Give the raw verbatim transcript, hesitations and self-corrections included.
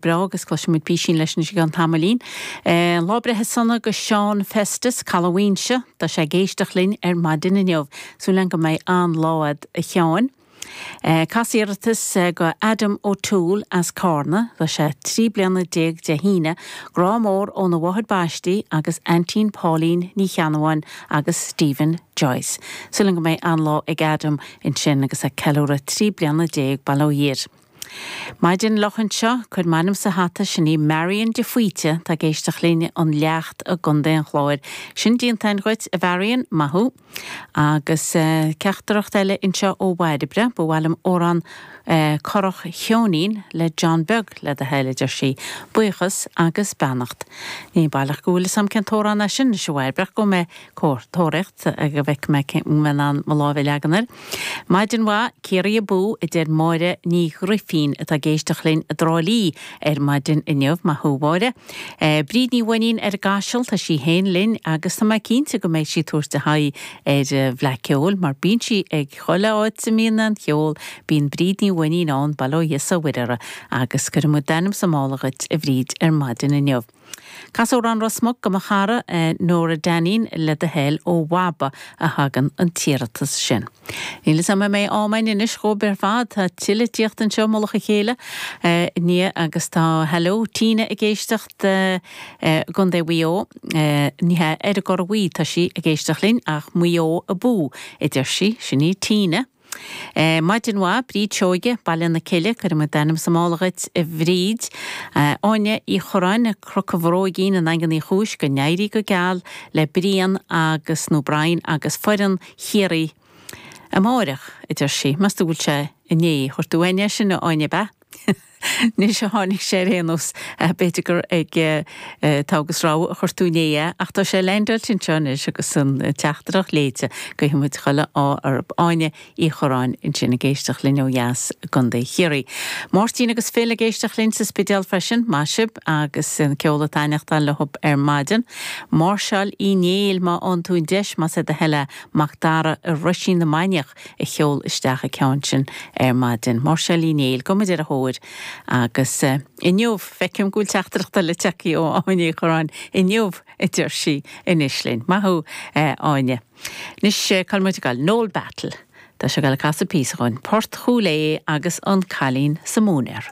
breá agus cloisfimid písín leis anois i gceann tamaillín. Lá breithe sona go Seán Festus, Caladh Mhaínse, tá sé ag éisteacht linn ar maidin inniu. Súil agam go mbeidh an-lá agat a Sheáin. Cas iarratas go Adam O'Toole as Carna, tá sé trí bliana déag Dé hAoine, grá mór óna mháthair baistí agus aintín Pauline Ní Cheannabháin agus Stephen Joyce. Súil agam go mbeidh an-lá ag Adam ansin agus ag ceiliúradh trí bliana déag, bail ó Dhia air. Maidin fhliuch anseo, cuir m'ainm sa hata, sin í Marion de Faoite, tá ag éisteacht linn ón Leacht i gContae an Chláir. Sin déanta againn dhuit, a Mharion, maith thú. Agus teachtaireacht eile anseo ó Bhairbre, ba mhaith liom amhrán Currach Cheoinín le John Beag le do thoil, a deir sí. Buíochas agus beannacht. Ní baileach go bhfuil fhios a'm cén t-amhrán é sin anois a Bhairbre, ach gabhfaidh mé tóraíocht go bhfeicfidh mé cén mbeidh in ann mo lámh a leagan air. Maidin mhaith, Ciarraí abú, a deir Máire Ní Ghrifín atá ag éisteacht linn i dTrá Lí ar maidin inniu. Maith thú, a Mháire. Bríd Ní Mhainnín ar an gCaiseal, tá sí féin linn agus tá mé cinnte go mbeidh sí ag tabhairt a haghaidh ar Fhleadh Ceoil mar bíonn sí ag chuile áit a mbíonn an cheol, bíonn Bríd Ní Mhainnín ann, bail ó Dhia 's ó Mhuire uirthi, agus cuirfidh muid d'ainm sa mála dhuit, a Bhríd, ar maidin inniu. Cas amhrán Ros Muc go mo chara Nóra Dainín le do thoil ó Mhaba a thagann an t-iarratas sin. Níl fhios a'm an mbeidh am a'inn anois dhóibh ar fad, tá tuilleadh tíocht anseo i mullach a chéile inniu agus tá Hello Tina ag éisteacht i gContae Mhaigh Eo, ní hea ar an gCorra Bhuí tá sí ag éisteacht linn ach Maigh Eo abú a deir sí, sin í Tina. Maidin mhaith, Bríd Seoige, Baile na Cille, cuirfidh muid d'ainm sa mála dhuit, a Bhríd. Áine Uí Chorráin, Cnoc an Bhróigín i nDaingean Uí Chúis, go n-éirí go geal le Brian agus, nó Brian, agus foireann Chiarraí amáireach, a deir sí. Meas tú bhfuil sé inné? Chuir tú N air sin, a Áine, ab ea? Anois a tháinig sé ar aon nós, b'fhéidir gur ag togha agus rogha a chuir tú inné é, ach tá sé leaindeáilte anseo anois agus an teachtaireacht léite. Guífidh muid chuile ádh orthu. Áine Uí Chorráin ansin ag éisteacht linn ó dheas i gContae Chiarraí. Máirtín agus Phil ag éisteacht linn sa Spidéal freisin, maith sibh agus an ceol ag taitneachtáil leo ar maidin. Máirseáil Uí Néill má fhaigheann tú an deis, más é do thoil é, Mac Dara i Roisín na Mainiach a sheol isteach an ceann sin ar maidin. Máirseáil Uí Néill, gabhfaidh muid ar a thóir agus inniu, feicim go bhfuil teachtaireacht eile tagtha ó Áine Uí Chorráin, inniu a deir sí anois linn. Maith thú, Áine. Anois, cá bhfuil muid ag dul? Noel Battle. Tá sé ag dul ag casadh píosa dhúinn. Port Chúil Aodha agus an Cailín sa Móinéar.